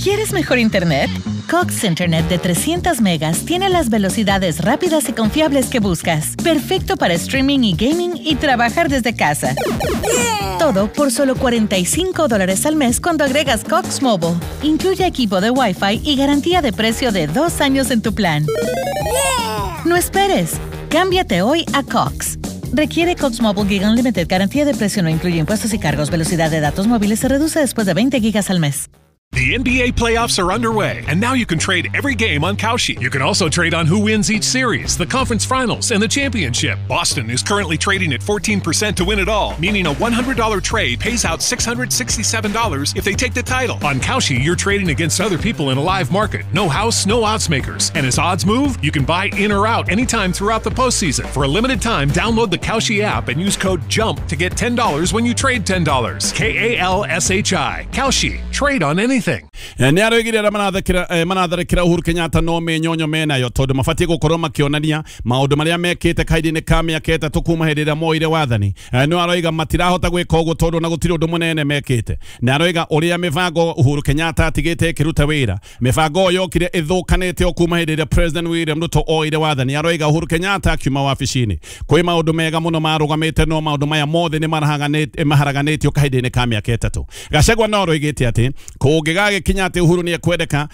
¿Quieres mejor internet? Cox Internet de 300 megas tiene las velocidades rápidas y confiables que buscas. Perfecto para streaming y gaming y trabajar desde casa. Todo por solo $45 al mes cuando agregas Cox Mobile. Incluye equipo de Wi-Fi y garantía de precio de 2 años en tu plan. No esperes. Cámbiate hoy a Cox. Requiere Cox Mobile Giga Unlimited. Garantía de precio no incluye impuestos y cargos. Velocidad de datos móviles se reduce después de 20 gigas al mes. The NBA playoffs are underway, and now you can trade every game on Kalshi. You can also trade on who wins each series, the conference finals, and the championship. Boston is currently trading at 14% to win it all, meaning a $100 trade pays out $667 if they take the title. On Kalshi, you're trading against other people in a live market. No house, no odds makers. And as odds move, you can buy in or out anytime throughout the postseason. For a limited time, download the Kalshi app and use code JUMP to get $10 when you trade $10. K-A-L-S-H-I. Kalshi. Trade on anything. Nĩ aroigire arĩa maratharĩkĩra Uhuru Kenyatta no mĩnyonyo menayo tondũ mabatiĩ gũkorwo makĩonania maũndũ marĩa mekĩte kahinda-inĩ ka mĩaka 3 kuma hĩndĩ ĩrĩa moire wathani. No aroiga matirahota gwĩka ũguo tondũ na gũtirĩ ũndũ mũnene mekĩte. Na aroiga ũrĩa mĩbango Uhuru Kenyatta atigĩte ĩkĩruta wĩra, mĩbango ĩyo yokire ĩthũkanĩte o kuma hĩndĩ ĩrĩa President William Ruto oire wathani. Aroiga Uhuru Kenyatta akiuma wabici-inĩ kwĩ maũndũ mega mũno marũgamĩte, no maũndũ maya mothe nĩ maharaganĩtio kahinda-inĩ ka mĩaka 3. Gachagua no aroigĩte atĩ kũngĩgagĩkinya atĩ Uhuru nĩ ekwendeka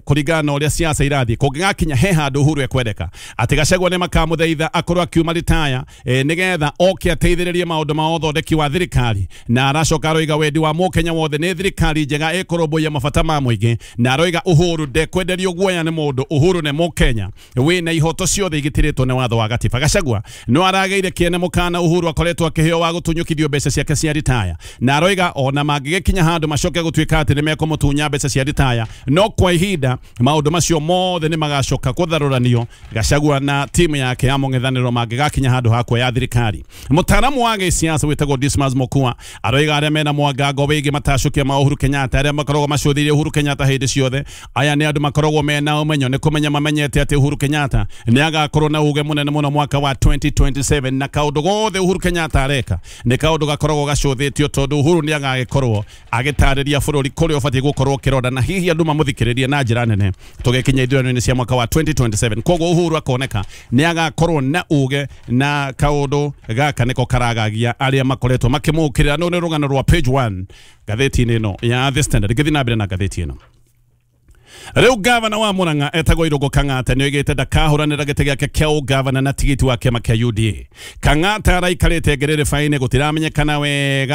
kũringana na ũrĩa siasa irathiĩ, kũngĩgakinya he handũ Uhuru ekwendeka atĩ Gachagua nĩ makamũthaitha akorwo akiuma ritaya nĩgetha oke ateithĩrĩrie maũndũ ma ũthondeki wa thirikari. Na aracoka aroiga wendi wa mũkenya wothe nĩ thirikari njega ĩkũrũmbũiya mabata ma mũingĩ. Na aroiga Uhuru ndekwenderio guoya nĩ mũndũ, Uhuru nĩ mũkenya wĩna ihoto ciothe igitĩrĩtwo nĩ watho wa gatiba. Gachagua no aragĩire kĩene mũkana Uhuru akoretwo akĩheo wa gũtunyũkithio mbeca ciake cia ritaya, na aroiga ona mangĩgĩkinya handũ macoke gũtuĩka atĩ nĩ mekũmũtunya mbeca cia ritaya, no kwa ihinda maũndũ macio mothe nĩ magacoka kũtharũranio Gachagua na timu yake ya mũng'ethanĩro mangĩgakinya handũ ha kuoya thirikari. Mũtaaramu wa gĩsiasa wĩtagwo Dismas Mokua aroiga arĩa mena mwangango wĩgiĩ matacũkia ma Uhuru Kenyatta, arĩa makoragwo macũthĩrĩirie Uhuru Kenyatta hĩndĩ ciothe, aya nĩ andũ makoragwo mena ũmenyo, nĩ kũmenya mamenyete atĩ Uhuru Kenyatta nĩ agakorwo na uge mũnene mũno mwaka wa 2027, na kaũndũ gothe Uhuru Kenyatta areka nĩ kaũndũ gakoragwo gacũthĩtio tondũ Uhuru nĩ agagĩkorwo agĩtarĩria bũrũri kũrĩa ũbatiĩ gũkorwo ũkĩrora, na hihi andũ mamũthikĩrĩrie na njĩra nene tũgĩkinya ithurano-inĩ cia mwaka wa 2027. Koguo Uhuru akoneka nĩ agakorwo na uge, na kaũndũ gaka nĩko karagagia arĩa makoretwo makĩmũkĩrĩra. No nĩ rũgano rwa page 1 ngathĩti-inĩ ĩno ya The Standard. Ngĩthiĩ na mbere na ngathĩti ĩno, rĩu gavana wa Murang'a etagwo Irũngũ Kang'ata nĩoigĩte ndakahũranĩra gĩtĩ gĩake kĩa ũgavana na tigiti wa kĩama kĩa UDA. Kang'ata araikarĩte ngerereba-inĩ,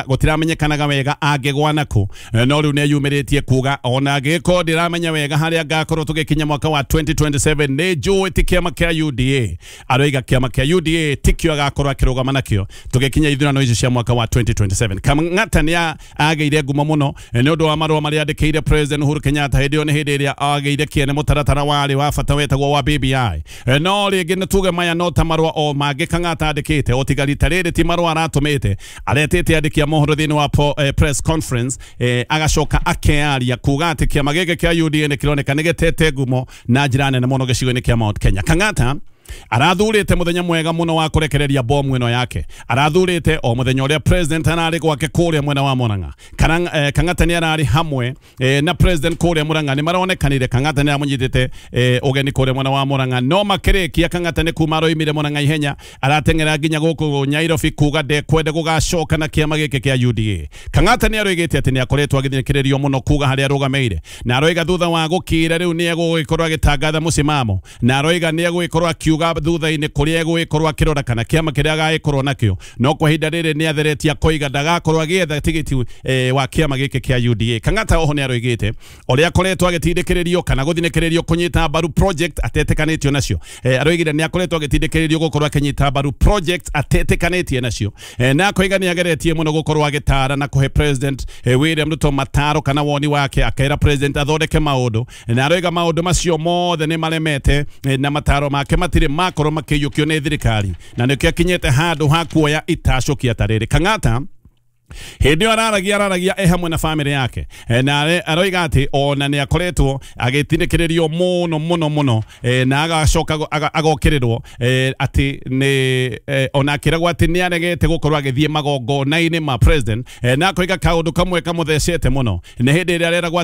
gũtiramenyekanaga wega angĩgwa nakũ, no rĩu nĩeyumĩrĩtie kuga ona angĩkorwo ndiramenya wega harĩa ngakorwo tũgĩkinya mwaka wa 2027 nĩ njũĩ ti kĩama kĩa UDA. Aroiga kĩama kĩa UDA tikĩo agakorwo akĩrũgama nakĩo tũgĩkinya ithurano icio cia mwaka wa 2027. Kang'ata nĩ agĩire ngumo mũno nĩ ũndũ wa marũa marĩa andĩkĩire President Uhuru Kenyatta hĩndĩ ĩyo nĩ hĩndĩ ĩrĩa agĩire kĩene mũtaratara warĩ wa bata wetagwo wa BBI. No rĩngĩ nĩ tuge maya no ta marũa o mangĩ Kang'ata andĩkĩte, o tiga rita rĩrĩ ti marũa aratũmĩte, aretĩte andĩki a mohoro thĩinĩ wa press conference, agacoka akearia kuga atĩ kĩama gĩkĩ kĩa UDA nĩ kĩroneka nĩ gĩtete ngumo na njĩra nene mũno gĩcigo-inĩ kĩa Mount Kenya. Kang'ata arathurĩte mũthenya mwega mũno wa kũrekereria bomu ĩno yake, arathurĩte o mũthenya ũrĩa president ararĩ gwake kũrĩa mwena wa Murang'a. Kang'ata nĩ ararĩ hamwe na president kũrĩa Murang'a, nĩ maronekanire Kang'ata nĩ aramũnyitĩte ũgeni kũrĩa mwena wa Murang'a, no makĩrĩkia Kang'ata nĩ kuma aroimire Murang'a ihenya arateng'era nginya gũkũ Nairobi kuga ndekwenda gũgacoka na kĩama gĩkĩ kĩa UDA. Kang'ata nĩ aroigĩte atĩ nĩ akoretwo agĩthikĩrĩrio mũno kuga harĩa arũgamĩire, na aroiga thutha wa gũkira rĩu nĩ egũgĩkorwo agĩtangatha mũcimamo, na aroiga nĩ egũgĩkorwo akiuga thutha-inĩ kũrĩa egũgĩkorwo akĩrora kana kĩama kĩrĩa agagĩkorwo nakĩo, no kwa ihinda rĩrĩ nĩ atheretie akoiga ndagakorwo agĩetha tigiti wa kĩama gĩkĩ kĩa UDA. Kang'ata oho nĩ aroigĩte ũrĩa akoretwo agĩtindĩkĩrĩrio kana gũthinĩkĩrĩrio kũnyita mbaru project atetĩkanĩtio nacio. Aroigire nĩ akoretwo agĩtindĩkĩrĩrio gũkorwo akĩnyita mbaru project atetĩkanĩtie nacio, na akoiga nĩ ageretie mũno gũkorwo agĩtara na kũhe President William Ruto mataro kana woni wake, akera President athondeke maũndũ, na aroiga maũndũ macio mothe nĩ maremete na mataro make matirĩ makorwo makĩiyũkio nĩ thirikari, na nĩkĩo akinyĩte handũ ha kuoya itacũkia ta rĩrĩ. Kang'ata hĩndĩ ĩyo araragia e hamwe na famĩlĩ yake, na aroiga atĩ ona nĩ akoretwo agĩtindĩkĩrĩrio mũno mũno mũno, na agacoka agokĩrĩrwo atĩ nĩ ona akĩragwo atĩ nĩ aregete gũkorwo agĩthiĩ magongona-inĩ ma president, na akoiga kaũndũ kamwe kamũthecete mũno nĩ hĩndĩ ĩrĩa areragwo